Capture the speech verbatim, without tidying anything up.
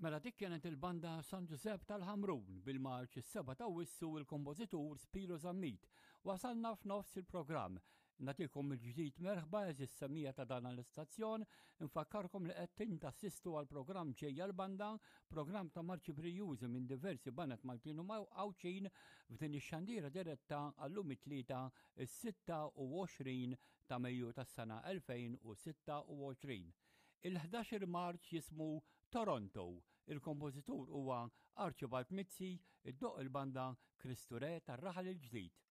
Mela dik kienet il-banda San Giuseppe tal-Ħamrun bil-marċ is-seba' ta' Awwissu, il-kompożitur Spiro Zammit. Wasalna f'nofs il-programm. Nagħtikom il-ġdid merħba, għeżież semmiegħa ta' dan l-istazzjon, infakkarkom li qed tassistu għal programm Ġejja l-Banda, programm ta' marċi brijużi minn diversi baned Maltin u Għawdxin f'din ix-xandira diretta għallum it-Tlieta, is-sitta u għoxrin ta' Mejju tas-sena elfejn u sitta u għoxrin. Il-ħdax-il marċ jismu Toronto. Il-kompożitur huwa Archibald Mizzi, iddoqq il-banda Kristu Re tar-Raħal il-Ġdid.